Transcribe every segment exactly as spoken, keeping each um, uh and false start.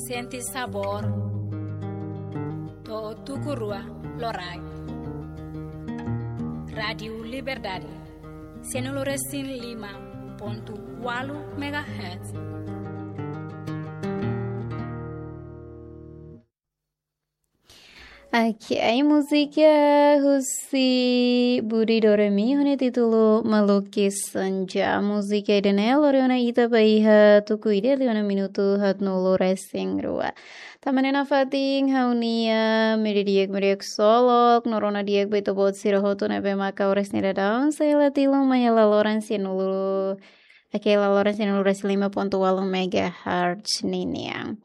Sente sabór. To'o tuku rua loraik. Rádiu Liberdade. Sianulu resin lima pontu ualu megahertz. Oke, ai múzika husi Budi Doremi, ho nia títulu Melukis Senja. Múzika ida-ne'e lori ona ita ba iha tuku ida liu ona minutu haatnulu resin rua. Tanba ne'e nafatin ha'u-nia meiudia di'ak, meiudia ksolok, no rona di'ak ba ita-boot sira hotu ne'ebé maka oras ne'e daudaun sei hela tiha ona mai hela loron sianulu, oke, hela loron sianulu resin lima pontu ualu megahertz ninian.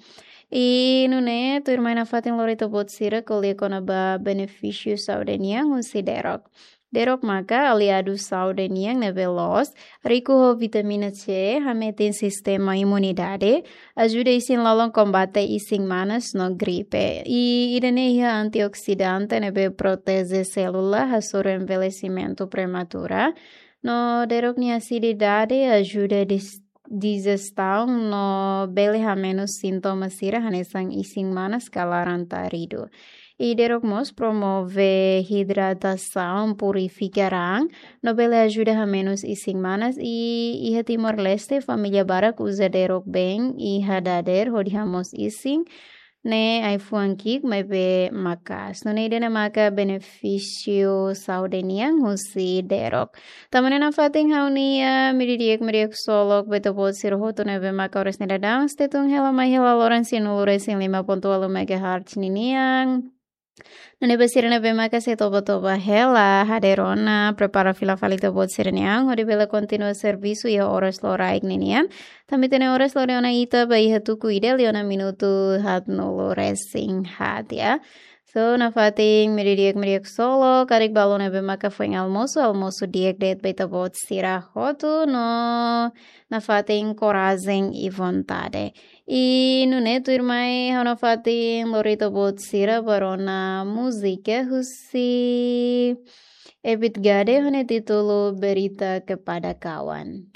I nune'e, tuirmai nafatin lori ita-boot sira ko'alia kona-ba benefísiu saúde nian husi derok. Derok maka aliadu saúde nian ne'ebé loos, riku ho vitamina C, hametin sistema imunidade, ajuda isin-lolon kombate isin-manas no gripe. I ida-ne'e iha antioksidante ne'ebé proteje sélula hasoru envelhecimento prematura. No derok nia asididade ajuda dis-, dijestaun no bele hamenus sintoma sira hanesan isin-manas ka laran-taridu. I derok mós promove hidratasaun, purifika raan, no bele ajuda hamenus isin-manas. I iha Timor-Leste, família barak uza derok been iha dadeer hodi hamoos isin, ne'e ai-fuan ki'ik maibé maka'as. Nune'e ida-ne'e maka benefísiu saúde nian husi derok. Tanba ne'e nafatin ha'u-nia meiudia di'ak, meiudia ksolok ba ita-boot sira hotu ne'ebé maka oras ne'e daudaun sei tun hela mai hela loron sianulu resin lima pontu ualu megahertz ninian. Nune'e ba sira ne'ebé maka sei toba-toba hela, hadeer ona, prepara fila fali ita-boot sira-nia an, hodi bele kontinua servisu iha oras loraik ninian. Tanba ita-nia oras lori ona ita ba iha tuku ida liu ona minutu haatnulu resin haat, ya. So, nafatin meiudia di'ak, meiudia ksolok, karik balun ne'ebé maka foin almosu, almosu di'ak de'it ba ita-boot sira hotu no nafatin korajen i vontade. I nune'e tuirmai ha'u nafatin lori ita-boot sira ba rona múzika husi Ebit Gade ho nia títulu Berita Kepada Kawan.